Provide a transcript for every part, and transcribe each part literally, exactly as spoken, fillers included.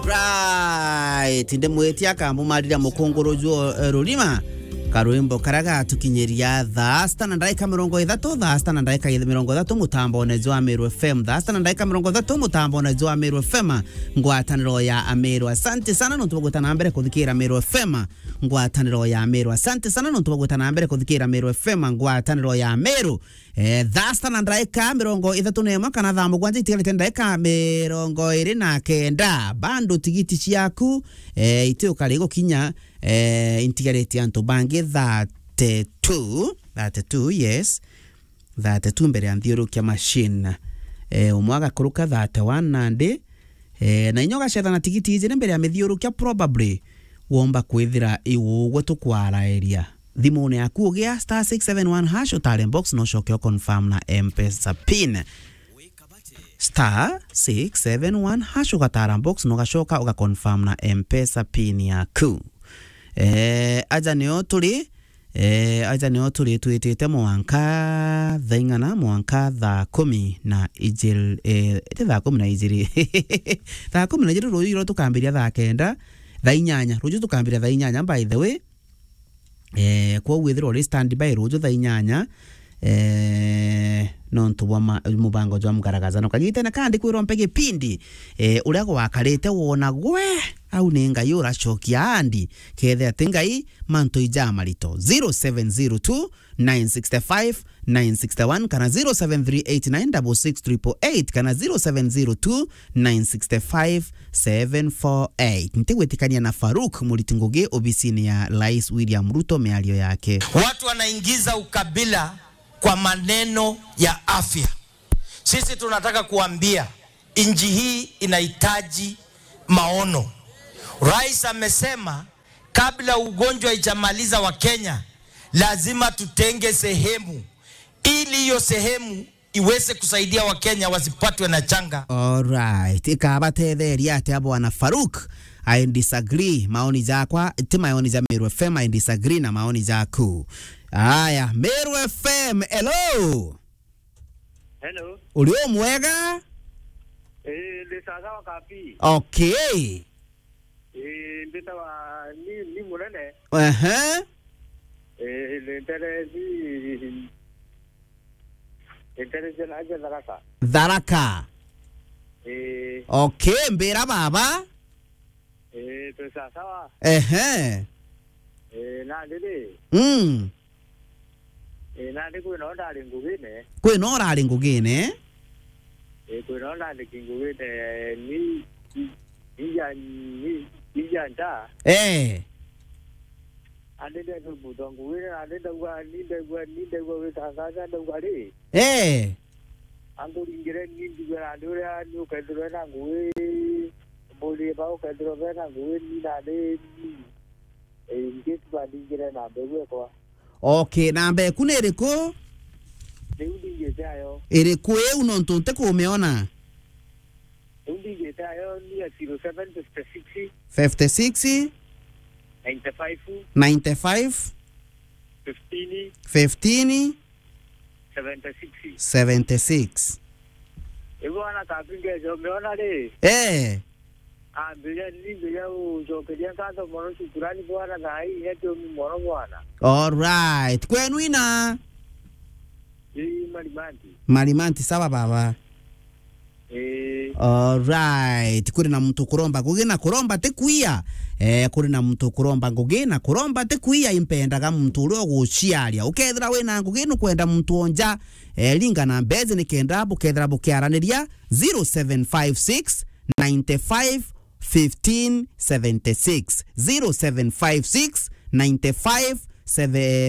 Right, ndimwitia akambumarira mukunguru jwo, eh, rurima. Karwimbo karia gatukinyiria thaa sita na ndaika mirongo ithatu, thaa sita na ndaika mirongo ithatu mutambone jwa Meru F M. Thaa sita na ndaika mirongo ithatu mutambone jwa Meru F M. Ngwataniro ya Ameru. Asante sana nontu bwa gwita na mbere kuthikira Meru F M. Ngwataniro ya Meru. Asante sana nontu bwa gwita na mbere kuthikira Meru F M. Ngwataniro ya Meru. Eh, thaa sita na ndaika mirongo ithatu na imwe kana thaa mugwanja itigarite ndaika mirongo iri na kenda. Bado tigiti ciaku, eh, itiukari gukinya, eh, intigarite antu bangi thirty-two, thirty-two, yes. Thirty-two mbere ya nthiurukia machine. Eh, umwe agakuruka thirty-one nandi, eh, na inya ugacetha na tigiti ijiri mbere ya mithiurukia, probably womba kwithira iu ugwe tukwaraeria. Thimune yaku ugia star six seven one hash, utare box, no ucoke u confirm na M-Pesa pin. Star six seven one hash, ugatara box, no ugacoka uga confirm na M-Pesa pin yaku. Eh, aja nio turi, eh, aja nio turi twitite mwanka thaa ing'ana, mwanka thaa kumi na ijiri, eh, ti thaa kumi na ijiri. Thaa kumi na ijiri ruju iro tukambiria thaa kenda, thaa inyanya. Ruju tukambiria thaa inyanya, by the way. Eh, kwou withirwa uri standby ruju thaa inyanya, eh, nontu bwa ma-, mubango jwa mgaragazano. Kagitene kandi kwirwa mpe gipindi, eh, uria gwakarite wona gwe, au ni Ngai uracokia andi, kethe ati Ngai mantu ijamarito. Zero seven zero two, nine six five, nine six one kana zero seven three eight nine double six triple eight kana zero seven zero two, nine six five, seven four eight. Ntigwitikania na Farouk Muriti Ngugi obisini ya Rais William Ruto miario yake. Watu wanaingiza ukabila kwa maneno ya afya. Sisi tunataka kuambia nchi hii inahitaji maono. Rais amesema kabla ugonjwa ijamaliza wa Kenya, lazima tutenge sehemu ili hiyo sehemu iweze kusaidia Wakenya wasipatwe na changa. Alright, ikabatetheria atia bwana Farouk? I disagree. Maoni jakwa, ti maoni ja Meru F M, I disagree na maoni jaku. Aya, Meru F M, hello. Hello. Uri o mwega? Eh, ndi sawa sawa kapi. Okay. Eh, mbitawa ni, ni munene. Ehe. Eh, ni ntere ni, ni ntere jena aja Tharaka. Tharaka. Eh. Okay, mbira baba. Eh, twi sawa sawa. Ehe. Eh, nandi ri? Mm. Eh, nandi kwina o ndari ngugine. Kwina o urari ngugine? Eh, kwina o ndari ngugine, ni, ni, ni ja, ni, ni ja nta. Eh. Andi ndenda muntu ngugine, nandi ndauga, ni ndaigua, ni ndaigua witangaja, ndauga ri? Eh. Anguringire ni ndigue nandi uria ni ukethirwe na ngugi, mburie ba ukethirwe bena ngugi ni nandi ni. Eh, in case bandingire na mbeu ekwa. Okay, namba eku ni iriku? Riu ndingite ayo. Iriku iu nontu ntikumiona? Riu ndingite ayo ni ya zero seven fifty six. Fifty six. Ninety five. Ninety five. Fifteen. Fifteen. Seventy six. Seventy six. Ibo ana kapinge jo umeona ri? Eh. Ambiria, nimbiria ucokeria nkatho mono shukurani bwana, thaa hii inya tiomi mono bwana. Alright. Kwenu ina? Ii, Marimanti. Marimanti, sawa baba. Ii. Alright. Kuri na muntu kuromba ngugi na kuromba ti kuia. Eh, kuri na muntu kuromba ngugi na kuromba ti kuia, impendaga muntu uria uguciaria. Ukethira wina ngugi nukwenda muntu onja, eh, ringa na mbezi nikenda bukethira bukiaraniria zero seven five six, ninety five, fifteen seventy six, zero seven five six, ninety five,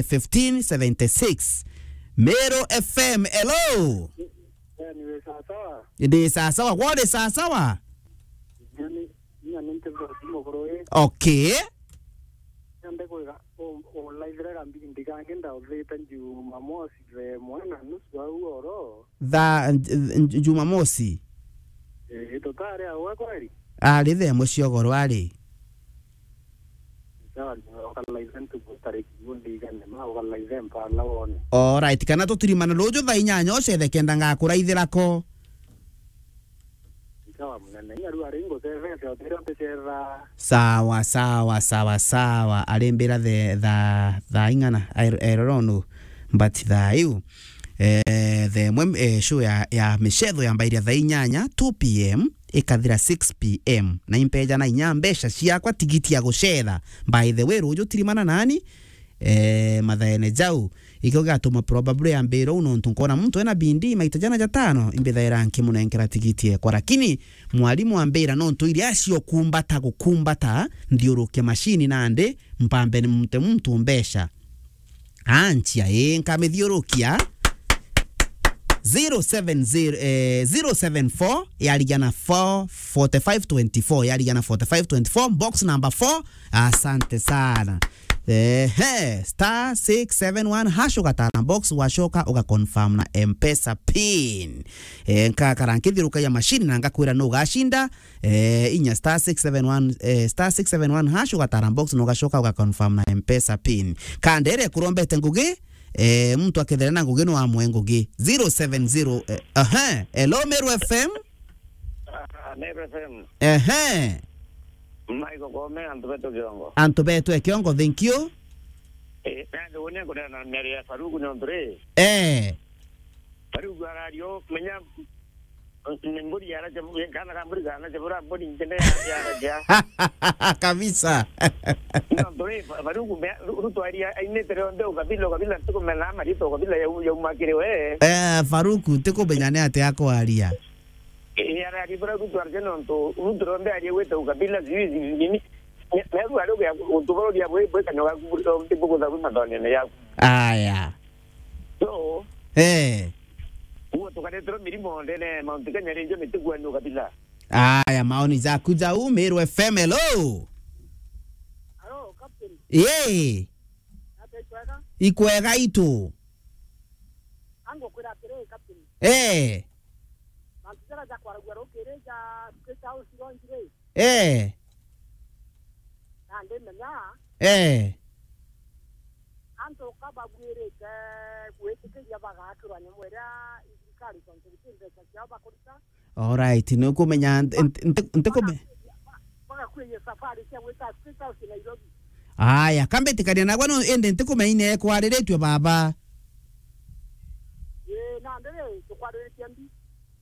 fifteen seventy six. Meru F M, hello. Eh, ni we sawa sawa? Ndi sawa sawa, gwe uri sawa sawa? Ni, ni, ni, ni, Okay. Nende kwiga, u-, ulaithire gambindi kangi ndauthite Jumamosi thaa imwe na nusu au oro. Thaa, nj-, nj-, Jumamosi? Ii, tutari awe kweri? Ari thaa imwe cia ugoro ari. Sawa, ukalaithe ntuku tariki ndigane ma, ukalaithe mpala wone. Alright, kana tutirimane ruju thaa inyanya ucethe kenda ngakuraithira ko. Sawa munene, inya riu ari ngucethe Sawa, sawa, sawa, sawa. Arimbira the, tha, tha ing'ana. I, I don't know. But tha iu. Eh, the mwe, eh, show ya, ya micetho yambairia tha inyanya, two p m, ikathira six p m. Na impeja na inya mbeca ciakwa tigiti ya gucetha. By the way, ruju tirimana nani? Eh, mathaene jau. Ikio gigatuma probably ambira uu nontu nkona muntu ena bindi maita jana jatano, imbithaira nkimunenkera tigiti ekwa. Lakini mwarimu ambira nontu iria acio kumbata gukumbata, nthiuruke mashini nandi, mpambe ni mute muntu mbeca. Anchia, ii, nkamithiurukia. Zero seven zero, eh, zero seven four, yarigia na four forty-five twenty-four, yarigia na forty-five twenty-four, box number four. Asante sana. Ehe, star six seven one hash ugatara box, wacoka ugaconfirm na M-Pesa pin. Eh, nkakara nkithiurukagia mashini na ngakwira nu ugashinda. Eh, inya star six seven one, eh, star six seven one hash ugatara box na ugacoka ugaconfirm na M-Pesa pin. Kandere kurombete ngugi, eh, muntu akethera na ngugi no amwe ngugi. Zero seven zero, eh, aha, hello, Meru F M. Ah, Meru F M. Ehe. Michael Kome, antu betu Kiongo. Antu betu e Kiongo, thank you. Eh, nandi unia kunena na miario ya Faruku nontu ri. Eh. Faruku arario, menya, ni mburi yaracha, kana ka mburi kana chabura mburi ntende ya, yaracha. Kabisa. Nontu ri, Fa-, Faruku me, ru-, rutwaria ainite rionthe ukabila, ukabila, ntikumena marito, ukabila ya, ya umakire we. Eh, Faruku, ntikumenya ni atia akwaria. Ii, arari bura Ruto arje nontu Ruto rombe arie gwita ukabila sijui nini. Meru ari ugia untu buru bia bwi bwi kanyo gaku buri nti bugutha bwi mathonene yaku. Aya. So, eh, uo tukaretero mirimo ndene Mount Kenya rinjo ni tigua ni ukabila. Aya, maoni jaku jau, Meru F M, hello. Hello, Captain. Yee. Ate ikwega? Ikwega itu. Ango kwira atiri, Captain. Eh. Mantu jaria jakwaragua rukiri ja State House ronjire. Eh. Na ndimenya. Eh. Antu ka babwirite gwitikiria bagakirwa nyamu iria thirikari tontu guti mbeca ciao bakurita. Alright, ni kumenya nti-, nti-, nti-, ntikume- Bagakuria safari cia gwita State House Nairobi. Aya, kambitikania nagwe no indi ntikumenya ine kwariritue baba. Ii, nandi ri, tukwariritie mbi.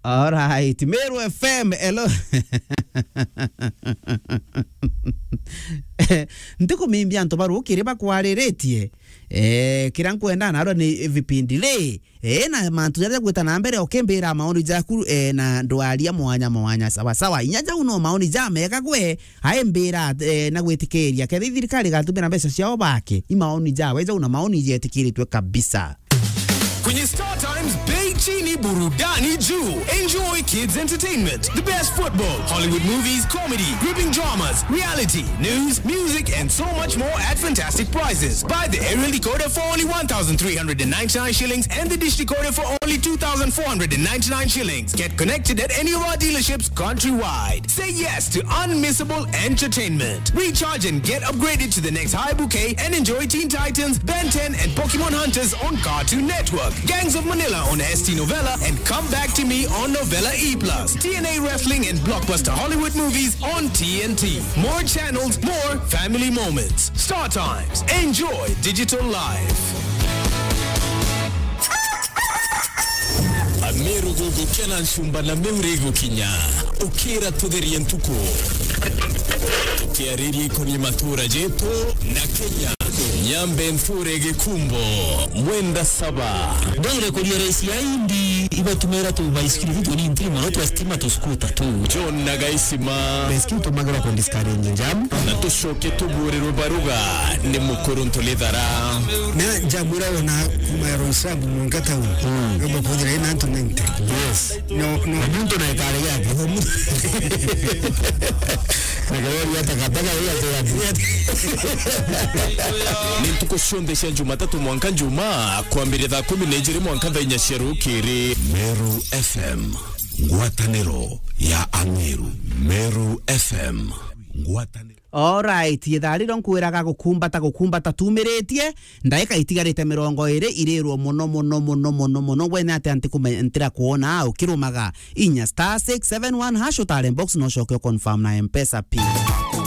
Alright, Meru F M, hello. Ntikumimbia antu barukiri bakwariritie. Eh, kira nkwenda narua ni vipindi ri. Eh, na mantu jaria jagwita na mbere, ukimbira maoni jaku, eh, na ndwaria mwanya mwanya, sawa sawa. Inya jau no maoni ja mega gwe, aimbira, eh, na gwitikiria. Kethi thirikari igatumira mbeca ciao bake, i maoni jawe jau na maoni jetikiritwe kabisa. Kwenye Star Times, bei chini, burudani juu. Enjoy kids entertainment, the best football, Hollywood movies, comedy, gripping dramas, reality, news, music, and so much more at fantastic prices. Buy the aerial decoder for only one thousand three hundred and ninety-nine shillings and the dish decoder for only two thousand four hundred and ninety-nine shillings. Get connected at any of our dealerships countrywide. Say yes to unmissable entertainment. Recharge and get upgraded to the next high bouquet and enjoy Teen Titans, Ben ten, and Pokemon Hunters on Cartoon Network, Gangs of Manila on S T Novella, and Come Back to Me on Novella E plus, T N A Wrestling and blockbuster Hollywood movies on T N T. More channels, more family moments. Star Times. Enjoy digital life. Ameru gugukena ncumba na Meru igukinya. Ukira tutherie ntuku. Tukiariria ikonie matura jetu na Kenya. Nyambe nthure Gikumbo, Mwenda Saba. Ndwire kuria raisi ya Indi, ibatumira tu baisikiri tu ni ntiri mono twa stima tu skuta tu. John na Gaisima. Baisikiri tumagirwa ku discourage jam. Na tucoke tuburirwe baruga ni mukuru Ntulithara. Na jamura ona kuma Roysambu mwanka town. Mm. Kama kuthira ina antu ninety. Yes. No, no. Na muntu na ikare yake. Na gari ya takataka ya, ya, ya. Ni ntuku cionthe cia Jumatatu mwanka Njumaa, kwambiria thaa kumi na ijiri mwanka thaa inya cia rukiri. Meru F M, ngwataniro ya Ameru. Meru F M. ngwataniro. Alright, ithaa riro nkwiraga gukumbata, gukumbata tumiritie, ndaika itigarite mirongo iri irirwo muno, muno, muno, muno, muno. Wene ati antikume-, ntira kuona ukirumaga inya star six seven one hash utare box no coke confirm na M-Pesa pin.